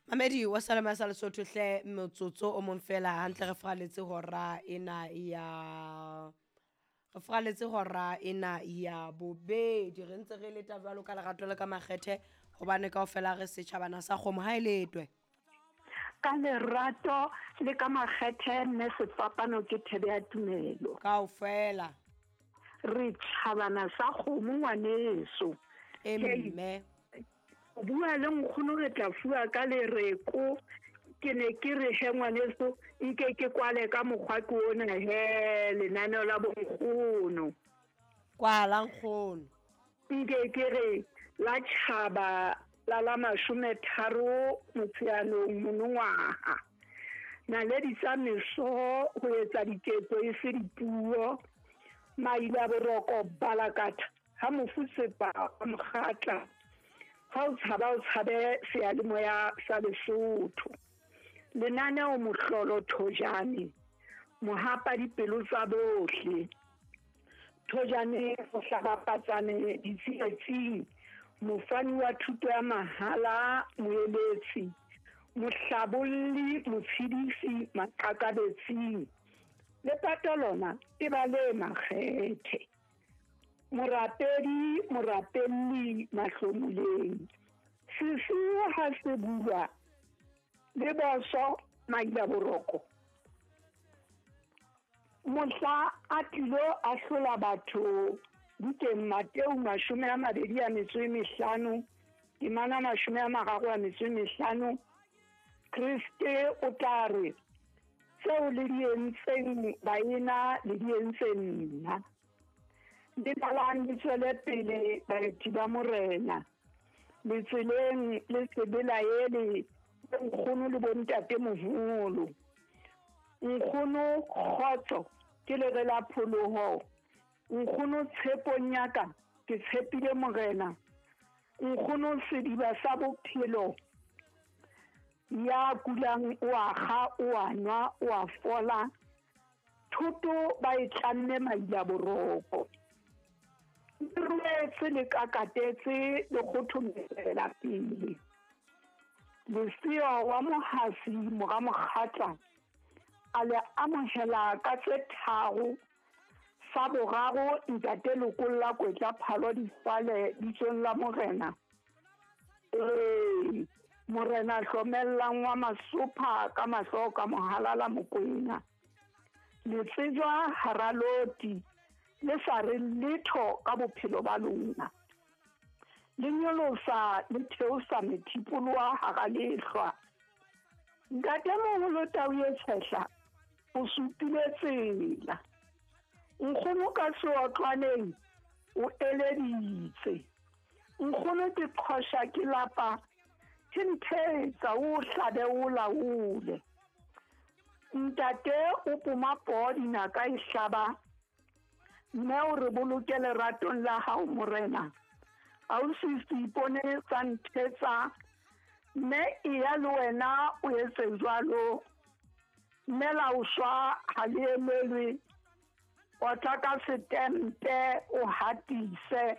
Mamedi wa Salama sa Lesotho hle, motsotso o mong fela hantle re fraletse hora ena ya re fraletse hora ena ya bobedi. Re ntse re leta jwalo ka lerato le ka makgethe, hobane kaofela re setjhabana sa kgomo ha e letwe. Ka lerato le ka makgethe, mme sefapano ke thebe ya tumelo. Kaofela re tjhabana sa kgomo, ngwaneso. E mme o bua le nkgono, re tla fuwa ka lereko. Ke ne ke re he ngwaneso, nke ke kwale ka mokgwa ke ona he lenaneo la bonkgono. Kwala, nkgono. Nke ke re la tjhaba la 30 Motsheanong monongwaha, naledi tsa meso ho etsa diketso e se dipuo, maila boroko balakatha ha mofu sepa wa mokgatla. Ha o tshaba, o tshabe seyalemoya sa Lesotho. Lenaneo mohlolo thojane, mohapa dipelo tsa bohle. Thojane mohlabapatsane ditsietsing, mofani wa thuto ya mahala, moeletsi, mohlabolli, motshedisi maqakabetsing. Lepato lona e ba le makgethe. Morapedi, morapelli mahlomoleng. Sesiu ha se bulwa le boso maila boroko. Mohla a tlilo ahlola batho bukeng Mateu 25, temana 35, Kriste o tla re, tseo le di entseng baena le di entse nna. Le balang le tswele pele baeti ba morena. Le tseleng le se belaele bonkgono le bontate moholo. Nkgono kgotso ke lere la pholoho. Nkgono tshepong ya ka ke tshepile morena. Nkgono sediba sa bophelo, ya kulang o a kga, o a nwa, o a fola. Thoto ba e tlamme maila boroko. Le ruetse le kakatetse le kgothomela pele. Lesea wa Mohasi mora Mokgatla a le amohela ka tse 3. Sa boraro ntate Lokolla Kwetla Phalo Difale bitsong la morena. Ee, morena hlomellang wa masopha ka mahlo ka mohala la Mokwena. Le tsejwa hara loti le sa re letho ka bophelo ba lona. Le nyolosa le theosa methipoloha hara lehlwa. Ntatemoholo Tau e Tshehla o supile tsela. Nkgono ka seotlwaneng o eleditse. Nkgono ke qhosha ke lapa, thenthetsa o hlabe o laole. Ntate o poma poo dinaka e hlaba, mme o re boloke leratong la hao morena. Ausi Seipone sa nthetsa, mme eya le wena o etse jwalo. Mme la o shwa ha le emelwe, otla ka setempe o hatise.